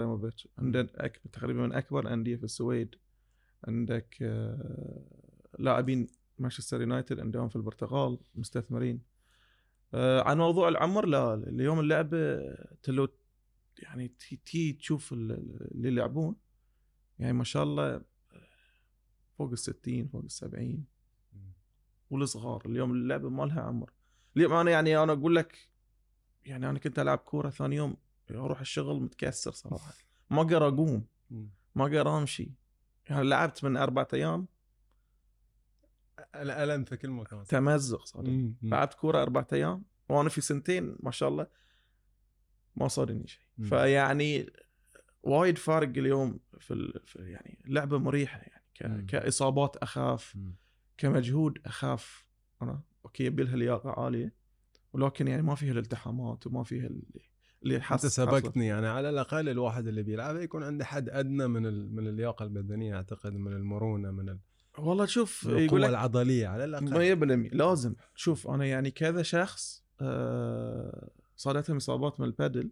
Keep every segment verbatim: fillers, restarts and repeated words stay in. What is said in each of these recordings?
ابراهيموفيتش، عندك أكبر تقريبا من اكبر انديه في السويد. عندك آه لاعبين مانشستر يونايتد عندهم في البرتغال مستثمرين. آه عن موضوع العمر، لا اليوم اللعبه تلو يعني تي تشوف اللي يلعبون يعني ما شاء الله فوق الستين فوق السبعين والصغار. اليوم اللعبه ما لها عمر. اليوم انا يعني انا اقول لك يعني انا كنت العب كوره ثاني يوم اروح الشغل متكسر صراحه، ما اقدر اقوم ما اقدر امشي. يعني لعبت من اربعة ايام الالم في كل مكان، تمزق صار. لعبت كوره اربعة ايام وانا في سنتين ما شاء الله ما صارني شيء. فيعني وايد فارق اليوم في, ال... في يعني لعبه مريحه يعني ك... كاصابات اخاف، مم. كمجهود اخاف. انا اوكي يبي لياقه عاليه ولكن يعني ما فيها الالتحامات وما فيها اللي اللي حس انت سبقتني يعني على الاقل الواحد اللي بيلعب يكون عنده حد ادنى من ال... من اللياقه البدنيه، اعتقد من المرونه من ال... والله شوف القوه العضليه على الاقل مية بالمية لازم. شوف انا يعني كذا شخص آه صارتهم اصابات من البادل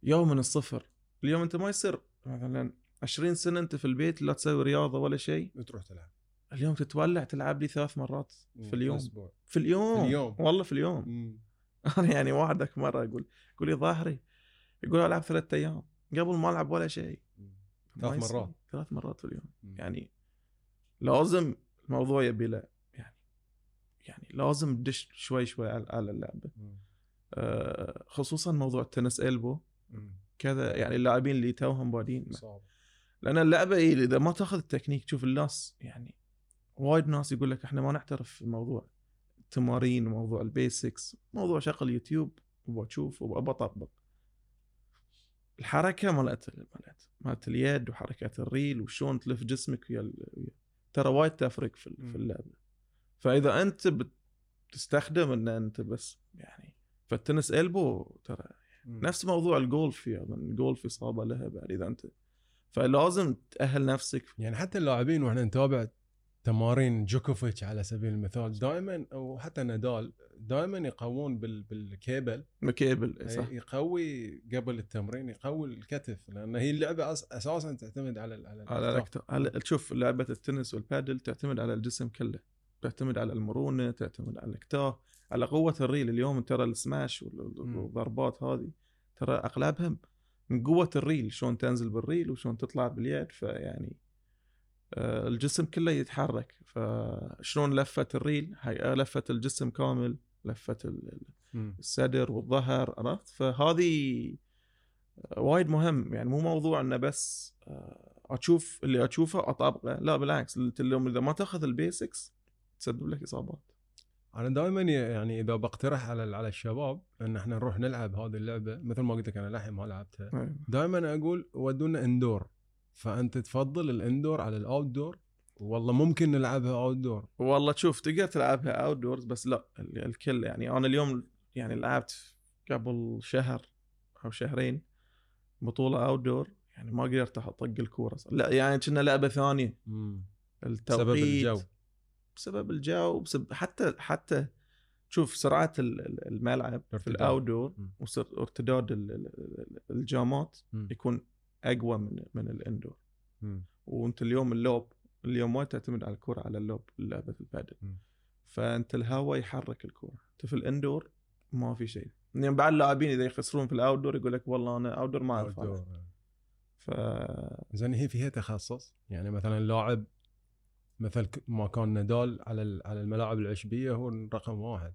يوم من الصفر. اليوم انت ما يصير مثلا عشرين سنه انت في البيت لا تسوي رياضه ولا شيء وتروح تلعب. اليوم تتولع تلعب لي ثلاث مرات في اليوم في, في اليوم في اليوم والله في اليوم. انا يعني واحدك مره اقول يقول لي ظاهري يقول العب ثلاث ايام قبل ما العب ولا شيء ثلاث مرات ثلاث مرات في اليوم. مم. يعني لازم الموضوع يبي له يعني يعني لازم تدش شوي شوي على اللعبه. آه خصوصا موضوع التنس إلبو كذا يعني اللاعبين اللي توهم بادين صعب. لان اللعبه إيه اذا ما تاخذ التكنيك تشوف الناس يعني وايد ناس يقول لك احنا ما نعترف في موضوع التمارين وموضوع البيسكس، موضوع شغل يوتيوب وبشوف وبطبق الحركه مالت مالت مالت اليد وحركات الريل وشون تلف جسمك ويا ترى وايد تفرق في في اللعبه. فاذا انت بتستخدم ان انت بس يعني فالتنس إلبو ترى نفس موضوع الجولف، يعني الجولف إصابة لها بعد إذا أنت فلازم تأهل نفسك. يعني حتى اللاعبين وإحنا نتابع تمارين جوكوفيتش على سبيل المثال دائما أو حتى نادال دائما يقوون بال بالكيبل مكيبل صح. يقوي قبل التمرين يقوي الكتف لأن هي اللعبة أساسا تعتمد على على على, على تشوف لعبة التنس والبادل تعتمد على الجسم كله، تعتمد على المرونة، تعتمد على الكتاف، على قوة الريل. اليوم ترى السماش والضربات هذه ترى أغلبهم من قوة الريل، شلون تنزل بالريل وشلون تطلع باليد. فيعني آه الجسم كله يتحرك، فشلون لفة الريل هاي لفة الجسم كامل، لفة الصدر والظهر، عرفت؟ فهذه وايد مهم. يعني مو موضوع انه بس اشوف اللي اشوفه اطبقه، لا بالعكس اليوم اذا ما تاخذ البيسكس تسبب لك اصابات. انا دائما يعني اذا بقترح على على الشباب ان احنا نروح نلعب هذه اللعبه مثل ما قلت لك انا لحين ما لعبتها، دائما اقول ودونا اندور. فانت تفضل الاندور على الاوت دور؟ والله ممكن نلعبها اوت دور. والله تشوف تقدر تلعبها اوت دورز بس لا الكل يعني انا اليوم يعني لعبت قبل شهر او شهرين بطوله اوت دور يعني ما قدرت اطق الكوره، لا يعني كنا لعبه ثانيه. بسبب الجو بسبب الجو بسبب حتى حتى شوف سرعه الملعب في الاوت دور وارتداد الجامات يكون اقوى من من الاندور. وانت اليوم اللوب اليوم ما تعتمد على الكرة على اللوب لعبة البادل، فانت الهواء يحرك الكرة. انت في الاندور ما في شيء. يعني بعض اللاعبين اذا يخسرون في الاوتدور يقول لك والله انا اوتدور ما اعرف. ف زين هي فيها تخصص يعني مثلا لاعب مثل ما كان نادال على على الملاعب العشبيه هو رقم واحد،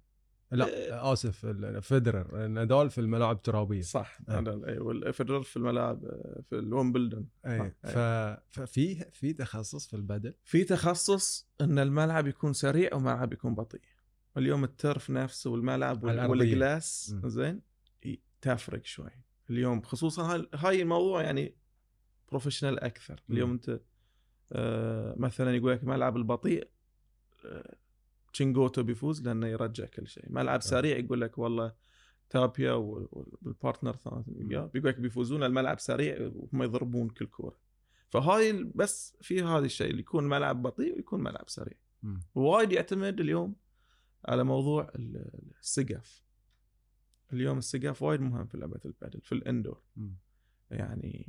لا إيه اسف فيدرر. نادال في الملاعب الترابيه صح. نادال اي والفيدرر في الملاعب في الويمبلدون. اي ف... ففي في تخصص في البادل، في تخصص ان الملعب يكون سريع وملعب يكون بطيء. اليوم الترف نفسه والملعب والجلاس زين تفرق شوي اليوم، خصوصا هاي الموضوع يعني بروفيشنال اكثر. اليوم م. انت آه مثلا يقول لك ملعب البطيء آه تشينغوتو بيفوز لانه يرجع كل شيء. ملعب سريع يقول لك والله تابيا والبارتنر ثاني بيقول لك بيفوزون الملعب سريع وهم يضربون كل كوره. فهاي بس في هذا الشيء اللي يكون ملعب بطيء ويكون ملعب سريع. وايد يعتمد اليوم على موضوع السقف. اليوم السقف وايد مهم في لعبه البادل في الاندور. م. يعني